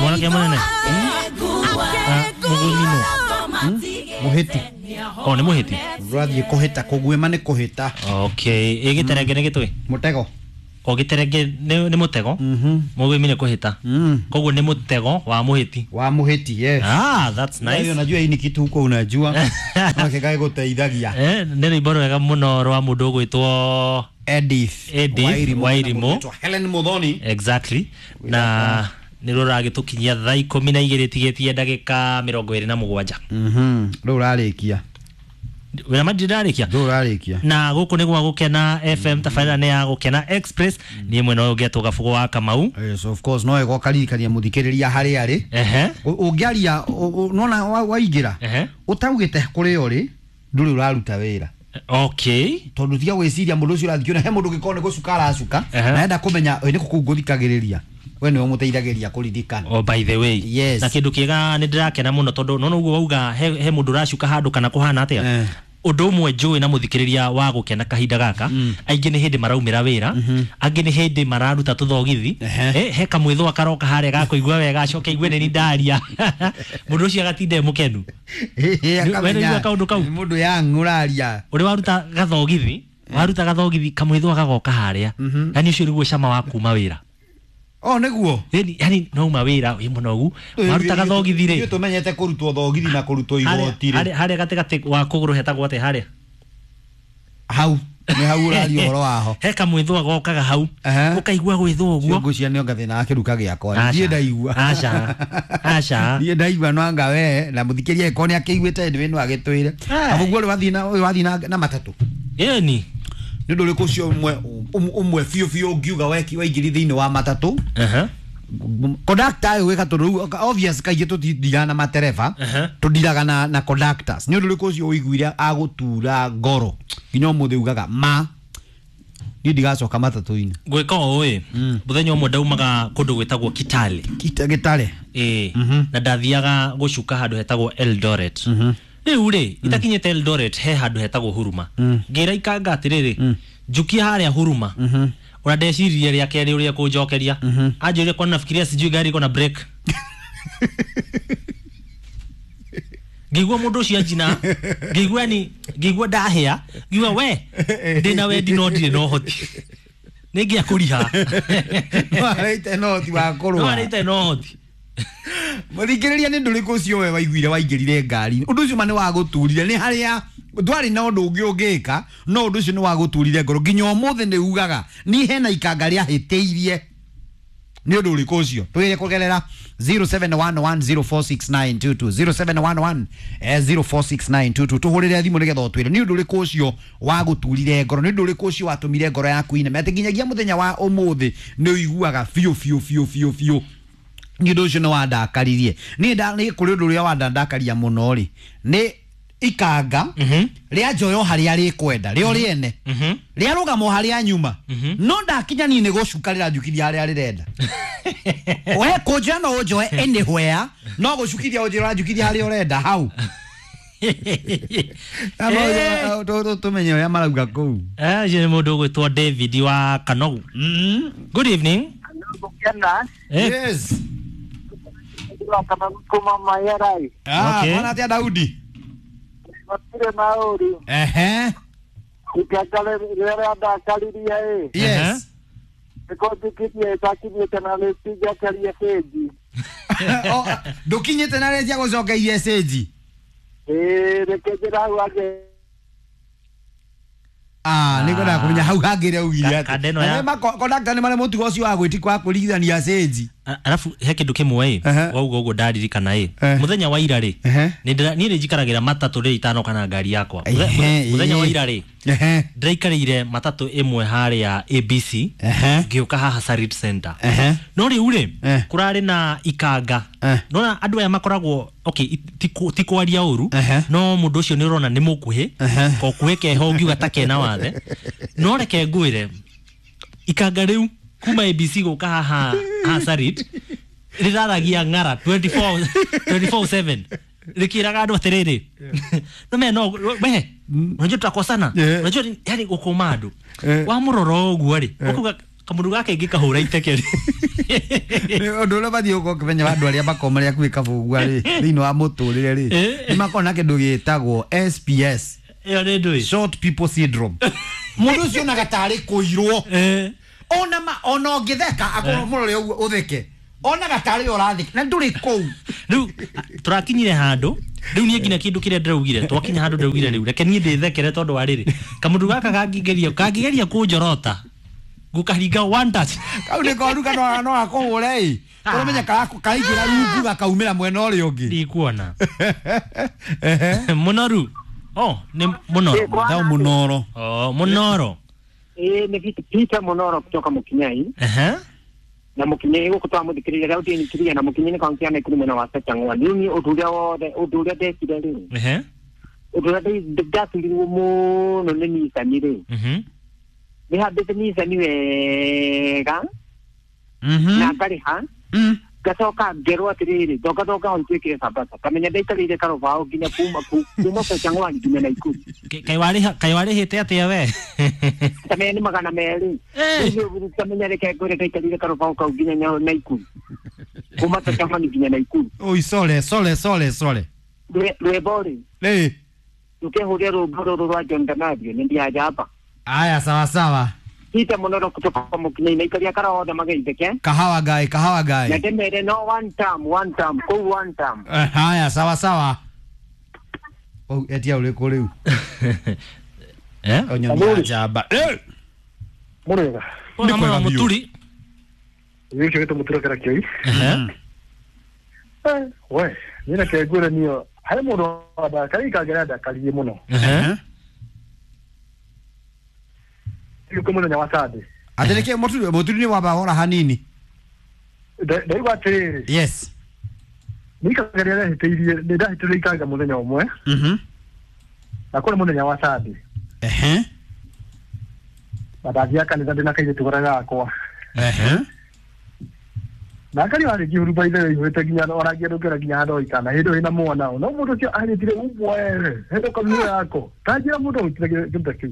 Mwanake munene. Mũguĩmi nũ? Mũhĩti. O nĩ mũhĩti. Ũrathiĩ kũhĩta, kũguĩma nĩ kũhĩta. Okay, ĩ gĩterenge nĩ gĩtũĩ? Mũtego. O gĩterenge nĩ mũtego. Mũguĩmi nĩ kũhĩta. Koguo nĩ mũtego wa mũhĩti. Wa mũhĩti, yes. Ah, that's Nice. nice. Unajua hii ni kitu huko unajua. Nake gũteithagia. Eh, nĩ rwĩmbo rwega mũno rwa mũndũ ũgwĩtwo Edith. Edith Wairimu. Wairimu. Helen Muthoni. Exactly. Na nĩ rwo rũragĩtũkinyia thaa 12 tigĩtie ndagĩka 27. Rĩu ũrarĩkia. Wĩra ma ndirarĩkia. Rĩu ũrarĩkia. Na gũkũ nĩ gwa Gũkena FM, tabarĩra nĩ ya Gũkena Express. Niĩ mwena ũyũ ngetwo Gabugo wa Kamau. Yes, of course no ĩgoka ririkania mũthikĩrĩria harĩa arĩ. Ehe. Ũngĩaria nona waingĩra Ehe. ũtaugĩte kũrĩa ũrĩ ndũrĩ ũraruta wĩra. Okay. Tondũ tiga gwĩciria mũndũ ũcio ũrathiĩ he mũndũ ũngĩkorwo nĩ gũcuka aracuka na enda kũmenya ĩ nĩ kũ kũu ngũthikagĩrĩria, we nĩwe ũmũteithagĩrĩria kũririkana. Oh, by the way. Yes. Na kĩndũ kĩega nĩ ndĩrakena mũno tondũ nona ũguo wauga he mũndũ ũracuka handũ kana kũhana atĩa. Ũndũ ũmwe njũĩ na mũthikĩrĩria wa Gũkena kahinda gaka, aingĩ nĩ hĩndĩ maraumĩra wĩra, angĩ nĩ hĩndĩ mararuta tũthogithi, he kamwĩthũa karoka harĩa gakũigua wega acoke aigue nĩ ndaria. Mũndũ ũcio agatinda e mũkenu. We nĩũigua kaũndũ kau? Mũndũ yang ũraria. Ũrĩ waruta gathogithi, waruta gathogithi kamwĩthũa gagoka harĩa. Yani ũcio nĩguo cama wa kuma wĩra. Oh, nĩguo. Yani no uma wĩra wĩ mũnogu, waruta gathogithi rĩ. Ithuĩ tũmenyete kũrutwo thogithi na kũrutwo igoti rĩ. Harĩa gatagatĩ wa kũgũrũ hetagwo atĩa harĩa? Hau. Nĩ hau ũraria ũhoro waho. He kamwĩthũa gokaga hau. Ũkaigua gwĩthũa ũguo. Ngũcia nĩ onga thĩna wa kĩruka gĩakwa. Niĩ ndaigua. Aca. Aca. Niĩ ndaigua no anga we na mũthikĩria ĩkorwo nĩ akĩiguĩte nĩ no agĩtwĩre. Abu guo wathiĩ na matatũ. Ĩni. Nĩ ũndũ ũrĩkũ ũcio ũmwe biũ biũ ũngiuga waingĩri thĩinĩ wa matatũ? Conductor ũyũ wĩka tondũ rĩu obvious kaingĩ tũtindiraga na matereba, tũndiraga na conductors. Nĩ ũndũ ũrĩkũ ũcio ũiguire agũtura ngoro nginya ũmũthĩ ugaga ma niĩ ndigacoka matatũ-inĩ? Gwĩka ũũ ĩ, mũthenya ũmwe ndaumaga kũndũ gwĩtagwo Kitale. Gĩtare. Ĩĩ. Na ndathiaga gũcuka handũ hetagwo Eldoret. Rĩu rĩ, itakinyĩte Eldoret he handũ hetagwo Huruma. Ngĩra ikanga atĩrĩrĩ, njukia harĩa Huruma. Ona ndeciririe rĩa kerĩ ũrĩa kũnjokeria. Anjĩrire kwani nafikiria sijui gari iko na break. Ngĩigua mũndũ ũcio anjina, ngĩigua ni, ngĩigua ndahĩa, ngĩigua we, ndĩna wendi no ndirĩ na ũhoti. Nĩngĩa kũriha. No arĩte na ũhoti wa kũrũa. No arĩte na ũhoti. Mũthikĩrĩria nĩ ndũrĩkũ ũcio we waiguire waingĩrire ngari. Ũndũ ũcio ma nĩ wagũturire, nĩ harĩa ndwarĩ na ũndũ ũngĩ ũngĩka, no ũndũ ũcio nĩ wagũturire ngoro nginya ũmũthĩ nĩ ugaga ni hena ikanga rĩahĩtĩirie. Nĩ ũndũ ũrĩkũ ũcio? Twĩre kũgerera 0711046922, 0711 046922. Tũhũrĩre thimũ nĩgetha ũtwĩre nĩ ũndũ ũrĩkũ ũcio wagũturire ngoro, nĩ ũndũ ũrĩkũ ũcio watũmire ngoro yaku iname atĩ nginyagia mũthenya wa ũmũthĩ nĩ ũiguaga biũ biũ biũ biũ biũ nĩ ũndũ ũcio nĩ wandakaririe. Niĩ nĩ kũrĩ ũndũ ũrĩa wandandakaria mũno rĩ, nĩ ikanga rĩa njoyo harĩa rĩkwenda rĩo rĩene rĩarũgama harĩa nyuma, no ndakinya niĩ nĩ gũcuka rĩranjukiria harĩa rĩrenda. We kũnjoya no ũnjoe anywhere, no gũcukithia ũnjĩra ũranjukiria harĩa ũrenda hau. Tũmenye ũrĩa marauga kũu. Ũcio nĩ mũndũ ũgwĩtwo David wa Kanogu. Good evening. Yes. Okay. Mwana atĩa Daudi? Ehe. Yes. Ndũkinyĩte na rĩtia gũcokeirie cĩnji. Ah, nĩ ngwendaga kũmenya hau hangĩ rĩa ugire atĩ. Kondakta nĩ marĩ mũtugo ũcio wa gwĩti wa kũringithania cĩnji. Arabu he kĩndũ kĩmwe ĩ, wauga ũguo ndaririkana ĩ. Mũthenya wa ira rĩ, niĩ nĩ njikaragĩra matatũ rĩ itanoka na ngari yakwa. Mũthenya wa ira rĩ, ndĩraikarĩire matatũ ĩmwe harĩa ABC, ngĩũka haha Sarit Center. No rĩu rĩ, kũrarĩ na ikanga. Nona andũ aya makoragwo okay, ti kwaria ũru, no mũndũ ũcio nĩ ũrona nĩ mũkuhĩ, kokuhĩ keho ũngiuga ta kena wathe. No reke ngwĩre, ikanga rĩu kuma ABC gũka haha Sarit rĩraragia ng'ara 24/7 rĩkĩraga andũ atĩrĩrĩ, no me no we unajua tutakosana, unajua yani gũkũma andũ wamũrora ũguo rĩ, ũkuga Kamundu gaka ingĩkahũra iteke rĩ. Ũndũ ũrĩa ũbatiĩ gũkorwo ũkĩmenya wa andũ arĩa makoragwo marĩ hakuhĩ kabũgua rĩ thĩinĩ wa mũtũrĩre rĩ nĩ makoragwo na kĩndũ gĩtagwo SPS, Ĩyo nĩ ndũĩ. short people syndrome. Mũndũ ũcio onaga tarĩ kũirwo ona ma ona ũngĩtheka akorwo mũrore ũguo ũtheke onaga tarĩ ũratheka na ndũrĩ kũu. Rĩu tũrakinyire handũ rĩu niĩ nginya kĩndũ kĩrĩa ndĩraugire twakinya handũ ndĩraugire rĩu reke niĩ ndĩthekere tondũ wa rĩrĩ kamũndũ gaka kangĩgeria kũnjorota ngũkaringa one touch. Kau nĩ koru kana no akũhũre ĩ ũramenya karaingĩra rungu gakaumĩra mwena ũrĩa ũngĩ. Ndikuona mũnoru. Oh, nĩ mũnoro. Thau mũnoro. Oh, mũnoro. Nĩ Peter Mũnoro kutoka Mũkinyai. Na Mũkinyai gũkũ twamũthikĩrĩria rĩu ndĩnyitĩrĩria na Mũkinyai nĩ kaunti ya Nakuru mwena wa Sachang'wa. Rĩu niĩ ũndũ ũrĩa wothe ũndũ ũrĩa ndekire rĩ ũndũ ũrĩa ndaturirwo mũno nĩ Nissan rĩ nĩ hambĩte Nissan wega na ngarĩha ngacoka ngerwo atĩrĩrĩ thonga thonga hau twĩkĩre Sambasa kamenya ndaikarĩire karũbaũ nginya kuma Sachang'wa nginya Nakuru. Kaĩ warĩhĩte atĩa we? Kamenya nĩ 200. Rĩu kamenya reke ngwĩre ndaikarĩire karũbaũ kau nginya Nakuru kuma Sachang'wa nginya Nakuru. Oi sole sole sole sole. Rwĩmbo rĩ rĩ rũkehũria rwĩmbo rũrũ rwa John Donabio nĩ ndiaja hapa. Aya sawa sawa. Peter Mũnoro kutoka Mũkinyai na ikaria kara othe mageithĩke. Kahawa guy, kahawa guy. Na ndĩmere no one term, one term, kũu one term. Haya sawa sawa. Oh, etia ũrĩkũ rĩu? Onyoni ya njamba. Mũrega. Nĩ kwega mũturi. Gĩkĩ gĩtũ mũtura kĩra kĩoi. We, niĩ reke ngwĩre niĩ harĩ mũndũ wandakaririe ikangera ndakaririe mũno. Rĩu mũthenya wa Sunday. Atĩ nĩkĩ mũturi nĩ wamba hora hanini? Ndaigua atĩrĩrĩ. Yes. Nĩ ikangeria ndahĩtĩirie nĩ ndahĩtĩirie ikanga mũthenya ũmwe. Na kũrĩ mũthenya wa Sunday. Na ndathiaga kanitha ndĩna kairĩtu karĩa gakwa. Na akari warĩ ngĩhuruba ithe ĩihũrĩte nginya ona ngĩndũngĩra nginya handũ ikana hĩndĩ ĩyo ĩna mwana no mũndũ ũcio ahĩtire umwe hĩndĩ kamwe yako ta njĩra mũndũ ahĩtire kĩndũ ta kĩu.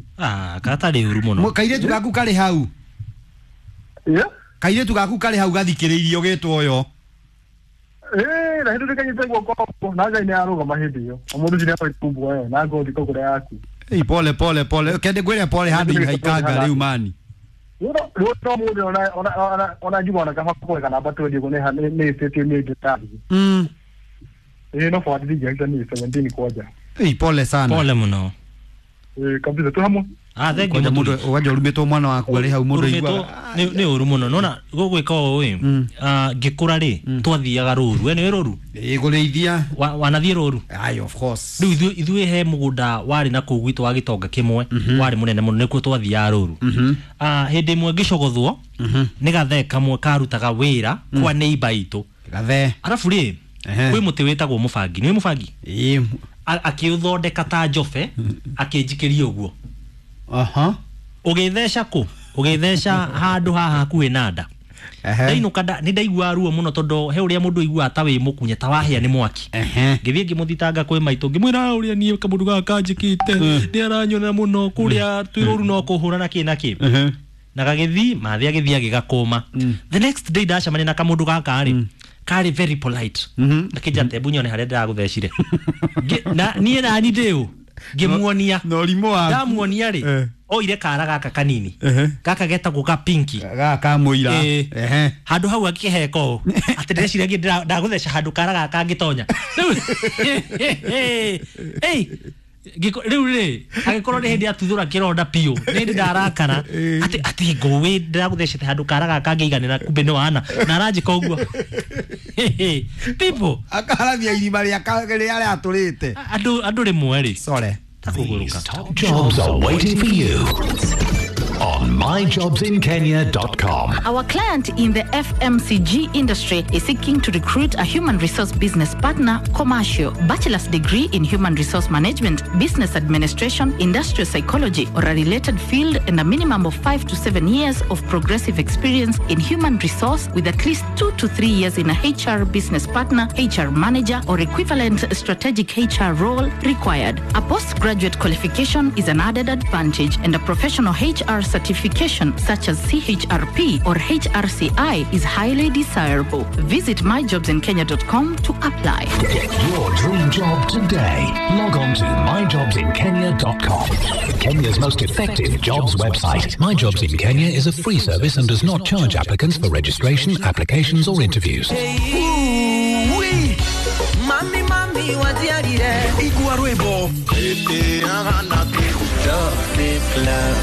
Gatarĩ ũru mũno. Kairĩtu gaku karĩ hau? Kairĩtu gaku karĩ hau gathikĩrĩirie ũgĩtwo ũyũ? Na hĩndĩ ndĩkanyite guoko na Ngai nĩ arũgama hĩndĩ ĩyo mũndũ ũcio nĩ ahĩtire umwe na ngothi kũgũra yaku. Ei pole pole pole kende ngwĩre pole handũ haikanga rĩu mani. Rĩu no mũndũ ona njuga ona kaba kũreka namba twendi ũguo nĩ ĩtĩtio nĩ ndĩtathiĩ. No forward ndingĩahĩta niĩ 17 kwanja. Ei pole sana. Pole mũno. Kabisa tu hamwe. Thank you. Mũndũ wanja ũrumĩtwo mwana waku arĩ hau mũndũ aiguaga nĩ ũru mũno. Nona gũgwĩka ũũ ĩ ngĩkũra rĩ twathiaga rũru. We nĩũĩ rũru? Ĩ kũrĩithia. Wanathiĩ rũru? Aye of course. Rĩu ithuĩ he mũgũnda warĩ na kũu gwitũ wa gĩtonga kĩmwe warĩ mũnene mũno nĩkuo twathiaga rũru. Hĩndĩ ĩmwe ngĩcogothwo nĩ gathee kamwe karutaga wĩra kwa neighbor itũ. Gathee. Arabu rĩ kwĩ mũtĩ wĩtagwo mũbangi. Nĩũĩ mũbangi? Ĩ. Akĩũthondeka ta njobe akĩnjikĩria ũguo. Ũgĩtheca kũ? Ũgĩtheca handũ haha hakuhĩ na nda. Ndainũka nĩ ndaiguaga ruo mũno tondũ he ũrĩa mũndũ aiguaga ta wĩ mũkunye ta wahĩa nĩ mwaki. Ngĩthiĩ ngĩmũthitanga kwĩ maitũ ngĩmwĩra ũrĩa niĩ kamũndũ gaka kanjĩkĩte nĩ aranyona mũno kũrĩa twĩ rũru no kũhũra na kĩ na kĩ. Na gagĩthiĩ mathĩ agĩthiĩ agĩgakũma. The next day ndacemania na kamũndũ gaka rĩ karĩ very polite. Akĩnjĩra tebu nyone harĩa ndĩragũthecire. Na niĩ nani ndĩ ũ? Ngĩmuonia. Na ũrimũ waku. Ndamuonia rĩ oire kara gaka kanini. Gaka getagwo ga pinki. Gaka ka mũira. Handũ hau akĩheka ũũ atĩ ndĩreciria ndagũtheca handũ kara gaka kangĩtonya. Rĩu rĩ agĩkorwo nĩ hĩndĩ atuthũra kĩronda biũ nĩ hĩndĩ ndarakara atĩ ngũĩ ndĩragũthecete handũ kara gaka kangĩiganĩra kumbe nĩ wana na aranjĩka ũguo. People akarathia irima rĩa rĩatũrĩte. Andũ rĩmwe rĩ. Sorry. These top jobs are waiting for you on myjobsinkenya.com. Our client in the FMCG industry is seeking to recruit a human resource business partner, commercial, bachelor's degree in human resource management, business administration, industrial psychology, or a related field, and a minimum of 5 to 7 years of progressive experience in human resource with at least 2 to 3 years in a HR business partner, HR manager, or equivalent strategic HR role required. A postgraduate qualification is an added advantage, and a professional HR certificate certification such as CHRP or HRCI is highly desirable. Visit myjobsinkenya.com to apply. Get your dream job today. Log on to myjobsinkenya.com. Kenya's most effective jobs website. My Jobs in Kenya is a free service and does not charge applicants for registration, applications, or interviews. Mami, mami, waziarire. Igua rwĩmbo. Love is love.